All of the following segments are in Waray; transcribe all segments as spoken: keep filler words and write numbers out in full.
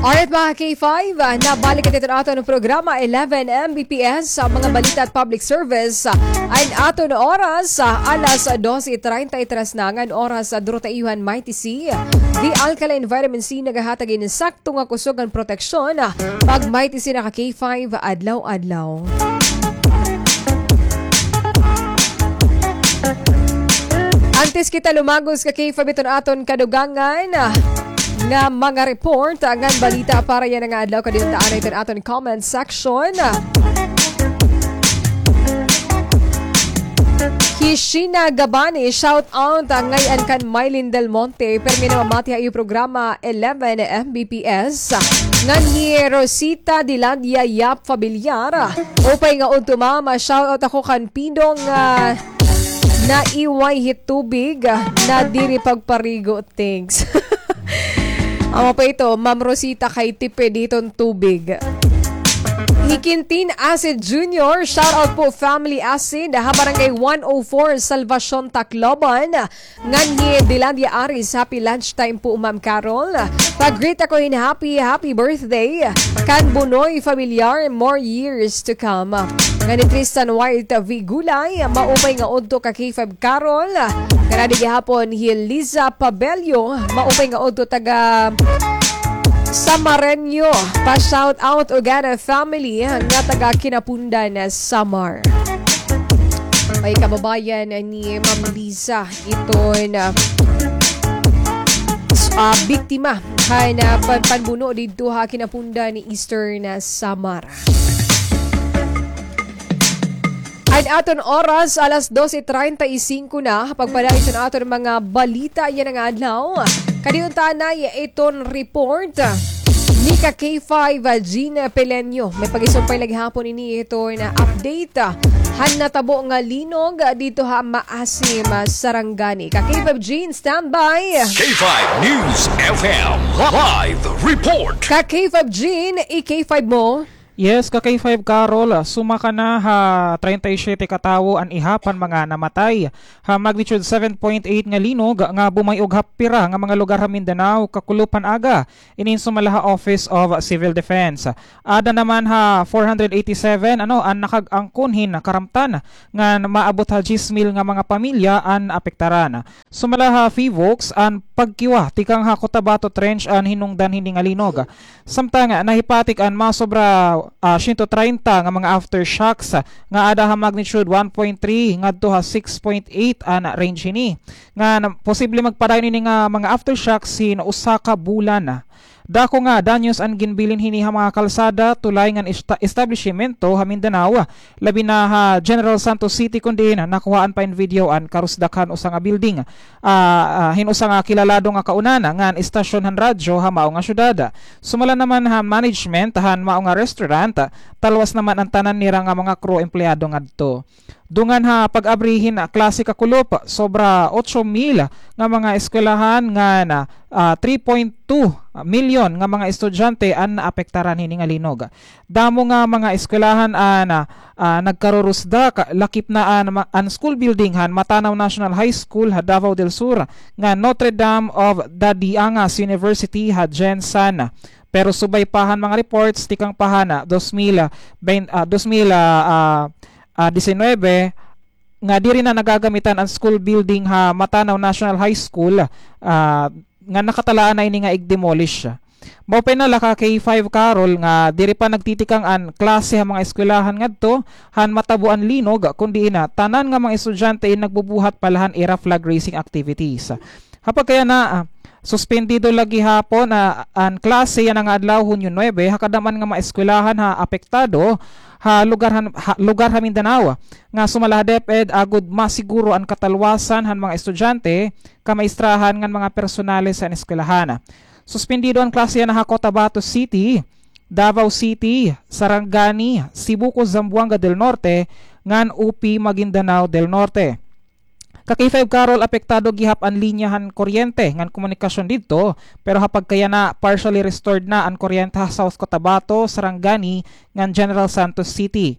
Alright, mga K five, ah, nabalik kita iton aton programa, eleven M B P S, sa mga balita at public service. Ah, an aton oras, ah, alas dose treinta y tres na ngan oras, ah, duro ta iyo han Mighty C. The Alkaline Vitamin C nagahatag hin sakto nga kusog ngan proteksyon, ah, pag Mighty C na ka K five adlaw-adlaw. Antes kita lumagos ka K five iton aton kadugangan, ah, nga mga report, ah, ngan balita para yana nga adlaw, kadiunta anay iton aton comment section. Hi Sheena Gabani, shout out, ah, ngay-an kan Mylene Del Monte, permi namamati ha iyo programa, eleven M B P S. Ngan hi Rosita Dilandia Yap Familiar, upay nga udto, mama, shout out ako kan Pidong, ah, naiway hi tubig, ah, na diri pagparigo. Thanks. Amo pa ito, Ma'am Rosita, kay tipid iton tubig. Hi Quintin Acid Junior, shout out po, family Acid, ha Barangay one oh four, Salvacion, Tacloban. Ngan hi Dilandia Aris, happy lunch time po, Ma'am Carol. Pag-greet ako hin happy, happy birthday kan Bunoy Familiar, more years to come. Ngan hi Tristan White V Gulay, maupay nga udto ka K five Carol. Ngan adi gihapon hi Liza Pabello, maupay nga udto, taga Samareño. Pa-shout out ugana family nga taga Quinapondan, Samar. May kababayan ni Ma'am Liza iton, ah, s-, ah, biktima han, ah, pan-, panbuno didto ha Quinapondan, Eastern, ah, Samar. An aton oras, alas dose treinta y cinco na. Pagpadayon sa aton mga balita yana nga adlaw, kadiunta anay iton report ni ka K five, ah, Jean Peleño. May pag-isumpay la gihapon ini iton update, ah, han natabo nga linog, ah, didto ha Maasim, ah, Sarangani. Ka K five Jean, standby. K five News F M live report. Ka K five Jean, i-K five mo. Yes, ka K five Carol, ah, sumaka na ha treinta y siete ka tawo an ihap han mga namatay ha magnitude seven point eight nga linog nga bumay-og ha pira nga mga lugar ha Mindanao kakulop han aga. Ini in sumala ha Office of Civil Defense. Aada naman ha four hundred eighty-seven, ano, an nakag-angkon hin karamtan ngan maabot ha diyes mil nga mga pamilya an naapektaran. Sumala ha PHIVOLCS, an pagkiwa tikang ha Cotabato Trench an hinungdan hini nga linog. Samtang nahipatik an masobra, ah, siyento treinta nga mga aftershocks nga aada ha magnitude one point three ngadto ha six point eight an range hini. Nga na-, posible magpadayon ini nga mga aftershocks hin usa ka bulan. Dako nga danyos an ginbilin hini ha mga kalsada, tulay ngan esta-, establisimento ha Mindanao, labi na ha General Santos City, kon diin nakuhaan pa in video an karusdak han usa nga building, ah, ah, hin usa nga kilalado nga kaunan ngan estasyon han radyo ha mao nga syudad. Sumala naman ha management han mao nga restaurant, talwas naman an tanan nira nga mga crew empleyado ngadto. Dungan ha pag-abri hin klase kakulop, sobra otso mil nga mga eskwelahan ngan, ah, three point two milyon nga mga estudyante an naapektaran hini nga linog. Damo nga mga eskwelahan an, ah, nagkarurusdak, lakip na an ma-, an school building han Matanao National High School ha Davao del Sur ngan Notre Dame of the Diangas University ha GenSan. Pero subay pa han mga reports, tikang pa han, ah, dos mil, ah, bain-, ah, dos mil, ah, ah, ah, disinuybe, nga diri na nagagamitan an school building ha Matanao National High School, ah, nga nakatalaan na ini nga ig-demolish. Maupay na la ka K five Carol nga diri pa nagtitikang an klase ha mga eskwelahan ngadto han matabo an linog, kundi ina tanan nga mga estudyante in nagbubuhat pa la han ira flag raising activities. Ha pagkayana, ah, suspendido la gihapon, ah, an klase yana nga adlaw, Hunyo nuebe, ha kadam-an nga mga eskwelahan ha apektado ha lugar han, ha lugar ha Mindanao, nga sumala ha DepEd agod masiguro an katalwasan han mga estudyante, kamaestrohan ngan mga personales han eskwelahan. Suspendido an klase yana ha Cotabato City, Davao City, Sarangani, Sibuco, Zamboanga del Norte, ngan U P Maguindanao del Norte. Ka K five Carol, apektado gihap an linya han kuryente ngan komunikasyon didto, pero ha pagkayana, partially restored na an kuryente ha South Cotabato, Sarangani, ngan General Santos City.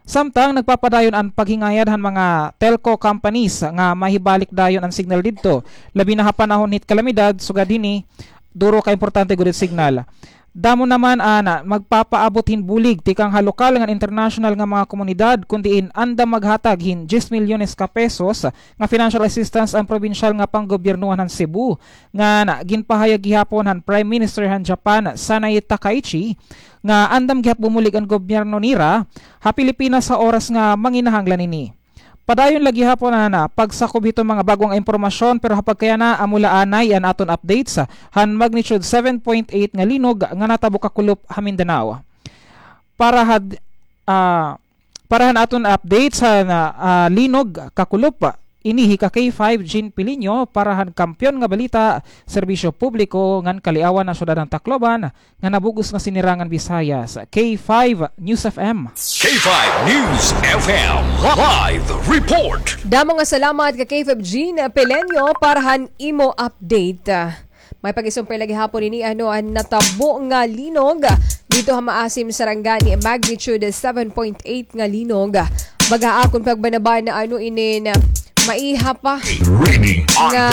Samtang nagpapadayon an paghingayad han mga telco companies nga mahibalik dayon an signal didto, labi na ha panahon hit kalamidad, sugad hini, duro ka importante gud it signal. Damo naman an magpapaabot hin bulig tikang ha lokal ngan internasyonal nga mga komunidad, kun diin andam maghatag hin diyes milyones ka pesos nga financial assistance an probinsyal nga panggobyernohan han Cebu, ngan ginpahayag gihapon han Prime Minister han Japan, Sanae Takaichi, nga andam gihap bumulig an gobyerno nira ha Pilipinas ha oras nga manginahanglan ini. Padayon la gihapon an pagsakob hiton mga bag-o nga impormasyon, pero ha pagkayana, amo la anay an aton updates han magnitude seven point eight nga linog nga natabo kakulop ha Mindanao. Para had, ah, para han aton updates han, ah, linog kakulop, ini hi ka K five Jean Piliño para han Kampiyon nga Balita, Serbisyo Publiko ngan Kaliawan han Syudad han Tacloban, nga nabug-os nga sinirangan Bisaya sa K five News F M. K five News F M live report. Damo nga salamat ka K five Jean Peleño para han imo update. May pag-isumpay la gihapon ini, ano, an natabo nga linog didto ha Maasim, Sarangani, magnitude seven point eight nga linog. Baga akon pagbanabana, ano, inin maiha pa nga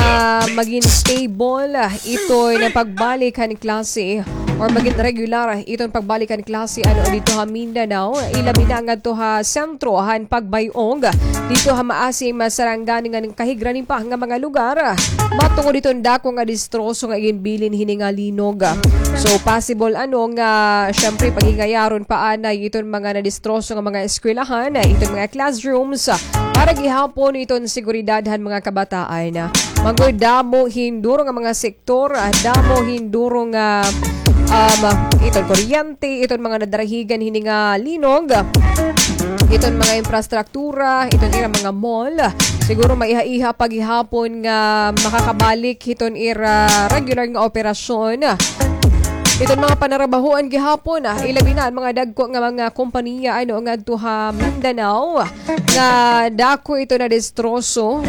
magin stable iton pagbalik han klase or magin regular iton pagbalik han klase, ano, didto ha Mindanao, ilabi na ngadto ha sentro han pagbay-og didto ha Maasim, Sarangani ngan kahigranan pa nga mga lugar, matungod hiton dako nga distroso nga iginbilin hini nga linog. So, possible, ano, nga, syempre, paghingayaron pa anay iton mga nadistroso nga mga eskwelahan, iton mga classrooms, para gihapon iton seguridad han mga kabataan. Manggod damo hin duro nga mga sektor, ah, damo hin duro nga, um, iton kuryente, iton mga nadarahigan hini nga linog, iton mga infrastruktura, iton ira mga mall. Siguro maiha-iha pa gihapon nga makakabalik hiton ira regular nga operasyon. Iton mga panarabahoan gihapon, ah, ilabi na an mga dagko nga mga kompanya, ano, ngadto ha Mindanao, nga dako ito na distroso.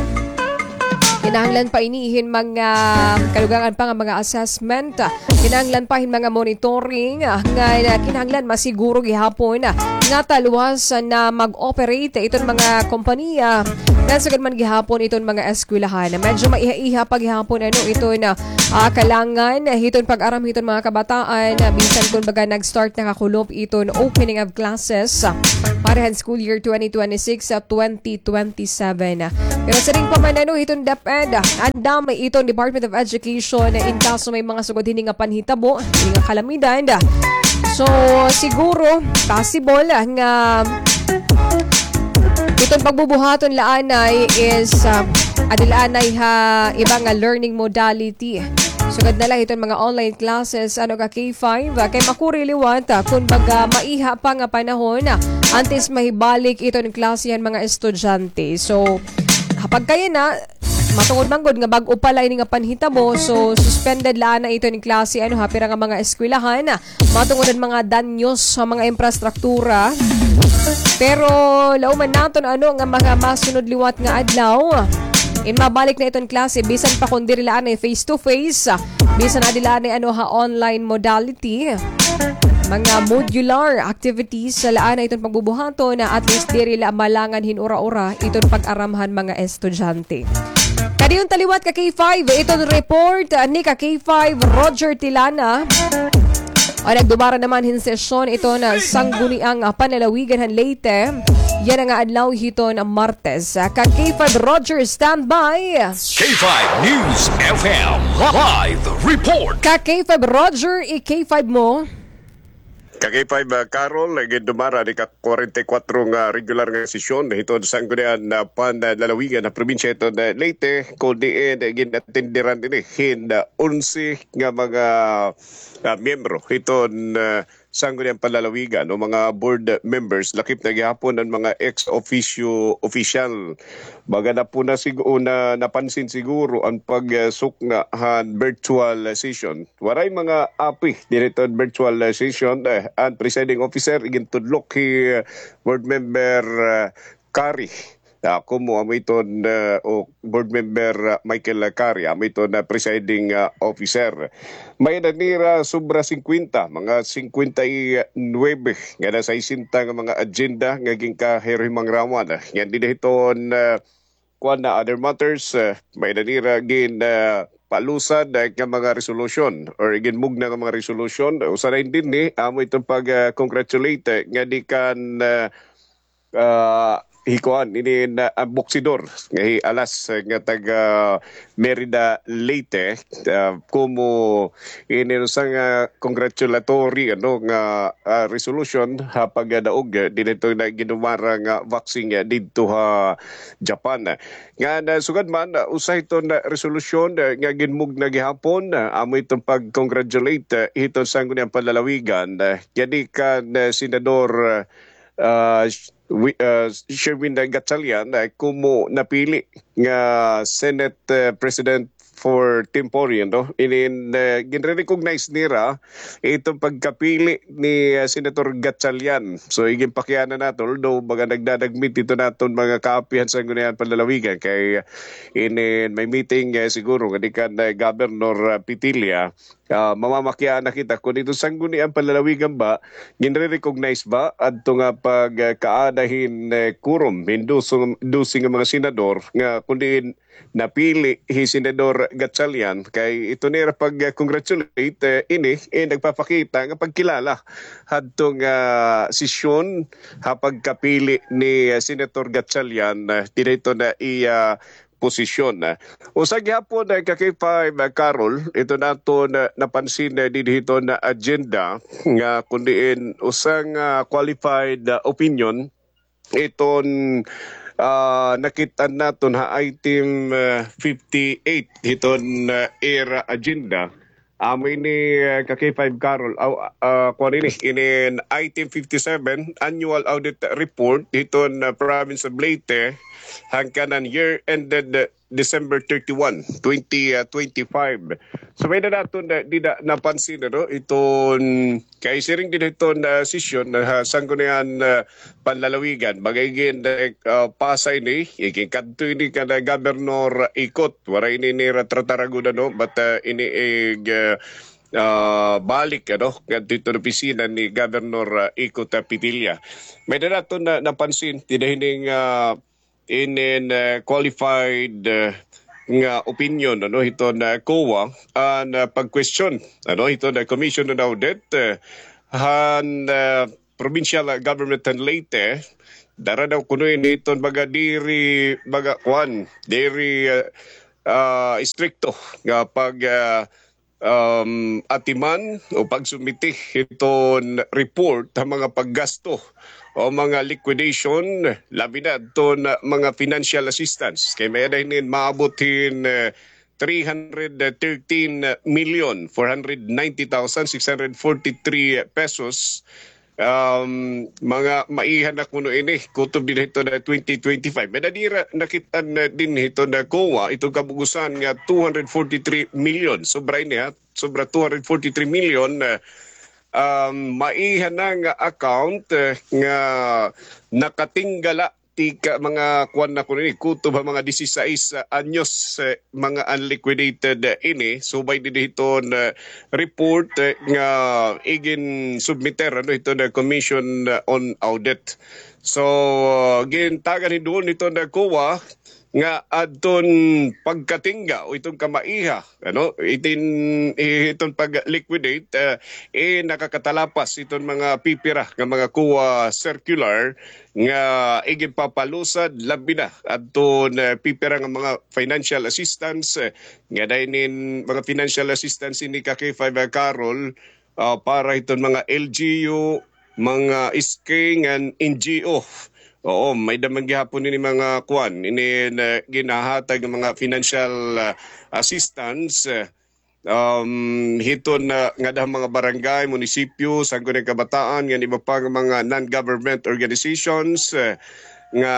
Kinahanglan pa ini hin mga kadugangan pa nga mga assessment. Kinahanglan pa hin mga monitoring, ah, nga, ah, kinahanglan masiguro gihapon, ah, nga talwas na mag-operate iton mga kompanya. Ngan sugad man gihapon iton mga eskwelahan. Medyo maiha-iha pa gihapon, ano, iton, ah, ah, kalangan hiton pag-aram hiton mga kabataan, ah, bisan kun baga nag-start na kakulop iton opening of classes, ah, para han school year twenty twenty-six, ah, twenty twenty-seven. Pero siring pa man, ano, hiton DepEd, ah, andam iton Department of Education, ah, in kaso may mga sugad hini nga panhitabo, hini nga kalamidad. So, siguro, possible, ah, nga iton pagbubuhaton la anay is, ah, adi la anay ha iba nga learning modality. Sugad na la hiton mga online classes, ano, ka K five, ah, kay makuri liwat, ah, kun baga maiha pa nga panahon, ah, antes mahibalik iton klase han mga estudyante. So, ha pagkayana, matungod man gud nga bag-o pa la ini nga panhitabo, so suspended la anay iton klase, ano, ha pira nga mga eskwelahan, ah, matungod han mga danyos sa mga infrastruktura. Pero lauman naton, ano, nga mga masunod liwat nga adlaw, in mabalik na iton klase, bisan pa kun diri la anay face to face, bisan adi la anay, ano, ha online modality, mga modular activities la anay iton pagbubuhaton, na at least diri la malangan hin ura-ura iton pag-aram han mga estudyante. Kadi unta liwat ka K five, iton report, ah, ni ka K five Roger Tilana. O, nagdumara naman hin sesyon iton Sangguniang, ah, Panlalawigan han Leyte. Yana nga adlaw hiton Martes. Ah, ka K five Roger, standby. K five News F M live report. Ka K five Roger, i-K five mo. Ka K five, ah, Carol, gindumara ni ka kwarenta y kwatro nga regular nga sesyon hiton Sangguniang, ah, Panlalawigan ha probinsya hiton, ah, Leyte, kun diin, ah, gin-atenderan ini hin, ah, onse nga mga, ah, miyembro hiton, ah, Sangguniang Panlalawigan o mga board members, lakip na gihapon an mga ex officio official. Baga na po na sigu-, na, napansin siguro an pagsukna han virtual session. Waray mga api diri hiton virtual session, eh, an presiding officer, igintudlok hi, eh, board member, eh, Kari. Ako mo, amo iton, eh, o board member, eh, Michael Kari, amo iton, eh, presiding, eh, officer. May-ada nira sobra singkwenta, mga singkwenta y nuwebe, nga na sesenta nga mga agenda nga ginkahirihimangrawhan. Ngan dinhi hiton, eh, kuan na other matters, eh, may-ada nira gin, eh, palusad, eh, nga mga resolusyon or iginmugna nga mga resolusyon. Usa na dinhi, amo iton pag, ah, congratulate, eh, nga di kan, ah, ah, hikuan ini na, ah, boksidor nga hi Alas, eh, nga taga Merida, Leyte, ah, komo ini usa nga congratulatory, ano, nga, ah, resolution ha pagdaog, eh, dinhi na ginumara nga boxing, eh, didto ha Japan. Nga nasugad man, ah, usa hiton, ah, resolusyon, ah, nga ginmugna gihapon, ah, amo iton pag-congratulate, ah, hiton Sangguniang Panlalawigan, ah, nga di kan, ah, Senador, ah, ah, Wi-, ah, Sherwin Gatchalian, ah, komo napili nga Senate, ah, President for temporary, no? Inin, ah, ginre-recognize nira iton pagkapili ni, ah, Senator Gatchalian. So, iginpakiana naton, although baga nagdadagmit iton aton mga kaapihan sa Sangguniang Panlalawigan kay, ah, inin may meeting, ah, siguro nga di kan, ah, Governor, ah, Petilla, ah, mamamakiana kita kon iton Sangguniang Panlalawigan ba, ginre-recognize ba adto nga pagkaada hin, eh, quorum hin dose, dose nga mga senador nga kon diin napili hi Senador Gatchalian, kay ito nira pag-congratulate, eh, ini, eh, nagpapakita nga pagkilala hadto nga sesyon ha pagkapili ni, eh, Senator Gatchalian, eh, dinhi hiton iya posisyon. Usa gihapon, eh, ka K five, eh, Carol, iton aton, eh, napansin, eh, dinhi hiton agenda nga kon diin usa nga, ah, qualified, ah, opinion iton, ah, nakit-an naton ha item, ah, fifty-eight hiton, ah, ira agenda. Amo ini, ah, ka K five Carol, aw, ah, kuan ini, inin item fifty-seven, annual audit report hiton, ah, province of Leyte, hangkan an year ended, ah, December thirty-one, twenty, ah, twenty-five. So, may-ada naton, ah, dida napansin, ano, iton, kay siring dinhi hiton, ah, sesyon, ah, ha Sangguniang, ah, Panlalawigan, baga igin, ah, pasa ini, iginkadto ini kan, ah, Governor Ikot, waray ini nira tratar gud, ano, but, ah, ini ig, ah, ah, balik, ano, ngadto hiton opisina ni Governor, ah, Ikot, ah, Petilla. May-ada naton na, napansin, dida hining, ah, inin, ah, qualified, ah, nga opinion, ano, hiton, ah, COA, an, ah, pag-question, ano, hiton, ah, Commission on Audit, ah, han, ah, provincial, ah, government han Leyte, dara daw kuno ini hiton baga diri, baga kuan, diri, ah, ah, istrikto nga pag, ah, um, atiman o pagsubmiti hiton report ha mga paggasto o mga liquidation, labi na adton mga financial assistance. Kay may-ada hinin maabot hin, eh, three hundred thirteen million four hundred ninety thousand six hundred forty-three pesos. Um, mga maiha na kuno ini, kutob dinhi hiton twenty twenty-five. May-ada dira nakit-an dinhi hiton COA, iton kabug-osan nga two hundred forty-three million. Sobra ini, ha? Sobra two hundred forty-three million, ah, um, maiha na nga account, eh, nga nakatinggala tikang mga kuan na kuno ini, kutob ha mga disisais, ah, anyos, eh, mga unliquidated, eh, ini, subay dinhi hiton, eh, report, eh, nga igin-submiter, ano, hiton, eh, Commission, eh, on Audit. So, ah, gintagan hin duol hiton, eh, COA nga adton pagkatingga o iton kamaiha, ano, itin, iton pag-liquidate, eh, eh, nakakatalapas iton mga pipira nga mga COA circular nga iginpapalusad labi na adton, eh, pipira nga mga financial assistance, eh, nga dayon nin mga financial assistance ini ka K five, ah, Carol, ah, para hiton mga L G U, mga S K ngan N G O. Oo, may-ada man gihapon ini mga kuan, ini na ginhahatag nga mga financial, ah, assistance, eh, um, hiton, ah, ngada ha mga barangay, munisipyo, Sangguniang Kabataan, ngan iba pa nga mga non-government organizations, eh, nga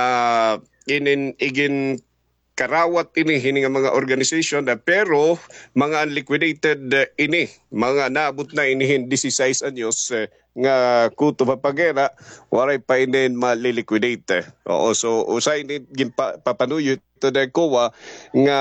inin-, iginkarawat ini, hini nga mga organization, ah, pero mga unliquidated, ah, ini, mga naabot na ini hin disisais anyos, eh, nga kutob ha paghera, waray pa inin ma-liquidate. Oo, so usa ini ginpa-, papanuyo hiton COA nga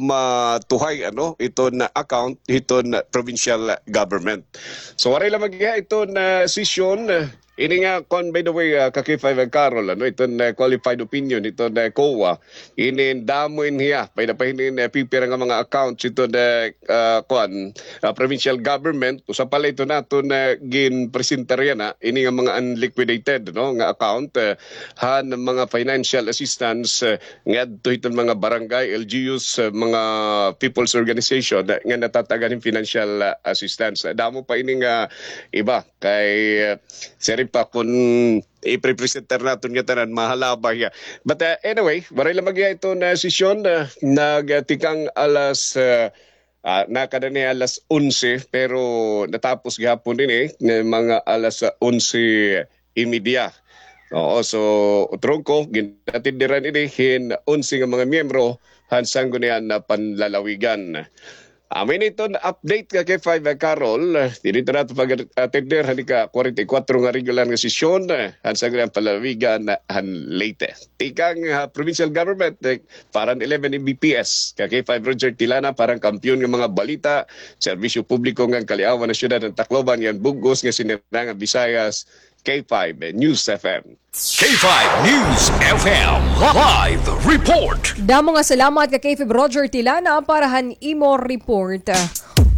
matuhay, ano, iton account hiton provincial government. So waray la magiha iton sesyon, eh, Ini nga, kuan, by the way, ah, ka K five Carol, ano, iton, ah, qualified opinion, iton, ah, COA. Ini damo in hiya, pwede pa ini, ah, pipira nga mga accounts, iton, ah, ah, kuan, ah, provincial government, usa pa la ito naton, ah, ginpresentar yana, ini nga mga unliquidated, no, nga account, ah, han mga financial assistance, ah, ngadto hiton mga barangay, L G Us, ah, mga people's organization, ah, nga natatag-an hin financial, ah, assistance. Ah, damo pa ini nga iba, kay, ah, siring pa kun iprepresentar naton nga tanan, mahalaba hiya. But, ah, anyway, waray lamang hiya iton sesyon, ah, nagtikang alas, ah, ah, nakada ni alas onse, pero natapos gihapon ini nga mga alas, ah, onse y media. Oo, so, trungko, ginatindiran ini hin onse nga mga miyembro han Sanggunian nga Panlalawigan. Amo ini iton update ka K five Carol. Diri ta nato pag-atender han ika-kwarenta y kwatro nga regular nga sesyon, eh, han Sangguniang Panlalawigan han Leyte. Tikang, ah, provincial government, eh, para han eleven M B P S. Ka K five Roger Tilana para han kampiyon nga mga balita, serbisyo publiko ngan kaliawan han syudad han Tacloban ngan bug-os nga sinirang nga Visayas, K five News F M. K five News F M live report. Damo nga salamat ka K five Roger Tilana para han imo report.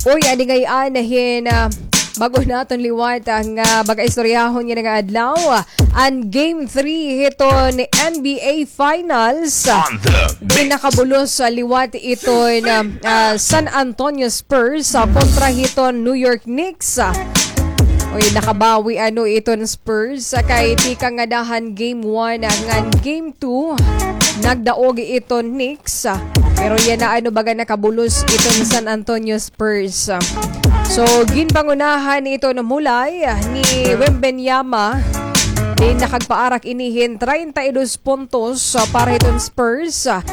Uy, adi ngay-an hin, ah, bag-o naton liwat, ah, nga baga-istoryahon yana nga adlaw, ah, an Game three hiton N B A Finals. On the mix. Nakabulos, ah, liwat iton, ah, ah, San Antonio Spurs, ah, kontra hiton New York Knicks. Uy, nakabawi ano iton Spurs, ah, kay tikang ngada han game one, ah, ngan game two, nagdaog iton Knicks, ah, pero yana ano baga nakabulos iton San Antonio Spurs. So, ginpangunahan iton mulay, ah, ni Wembanyama. Din nakagpaarak ini hin treinta y dos puntos, ah, para hiton Spurs, ah,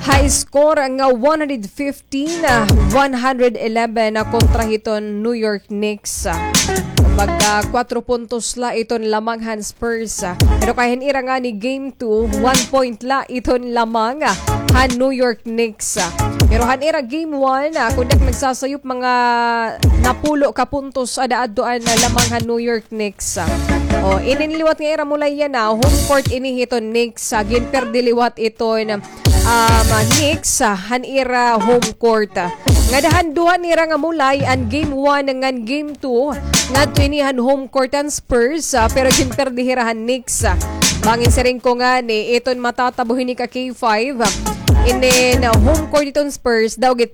high score nga one hundred fifteen, ah, one hundred eleven, ah, kontra hiton New York Knicks, ah. Kumbaga, kwatro puntos la iton lamang han Spurs, ah. Pero kay han ira ngani game two, one point la iton lamang, ah, han New York Knicks, ah. Pero han ira game one, ah, kun di ak nagsasayop, mga napulo ka puntos ada adto an, ah, lamang han New York Knicks, ah. O, inin liwat nga ira mulay yana, home court ini hiton Knicks, ah. Ginperdi liwat iton, um, Knicks, ah, han ira home court, ah. Ngada han duha nira nga mulay, an game one ngan game two, ngadto ini han home court han Spurs, ah, pero ginperdi hira han Knicks, ah. Bangin siring ko ngani, iton matatabo hini ka K five, ah, inin, ah, home court iton Spurs, daw git